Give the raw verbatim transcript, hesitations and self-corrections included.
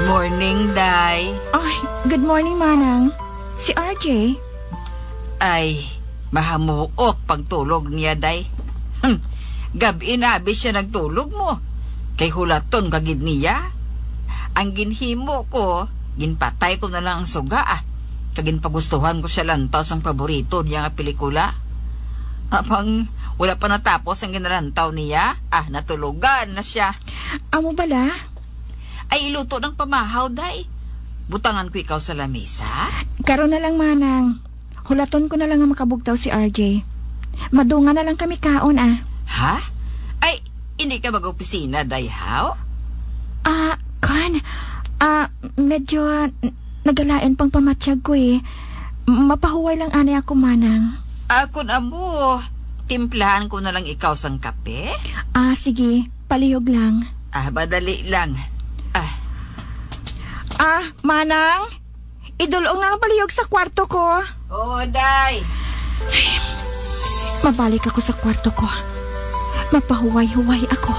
Morning, Day. Ay, good morning, Manang. Si R J? Ay, mahamuok pagtulog niya, Day. Hmm, gab-i na abi siya nagtulog mo. Kay hulaton ka gid niya. Ang ginhimo ko, ginpatay ko na lang ang suga, ah. Kag ginpagustuhan ko siya lantaw sang paborito niya nga pelikula. Apang wala pa natapos ang ginalantaw niya, ah, natulogan na siya. Amo bala? Ay, iluto ng pamahaw, Day. Butangan ko ikaw sa lamisa? Karon na lang, Manang. Hulaton ko na lang nga makabugtaw si R J. Madungan na lang kami kaon, ah. Ha? Ay, hindi ka mag-opisina, Day, haw? Ah, kan. Ah, medyo n- nagalain pang pamatyag ko, eh. Mapahuway lang anay ako, Manang. Ah, kun amo, timplahan ko na lang ikaw sang kape? Ah, sige. Palihog lang. Ah, madali lang. Ah. Ah, Manang? Idulong na lang palihog sa kwarto ko. Oo, Day. Mabalik ako sa kwarto ko. Mapahuway-huway ako.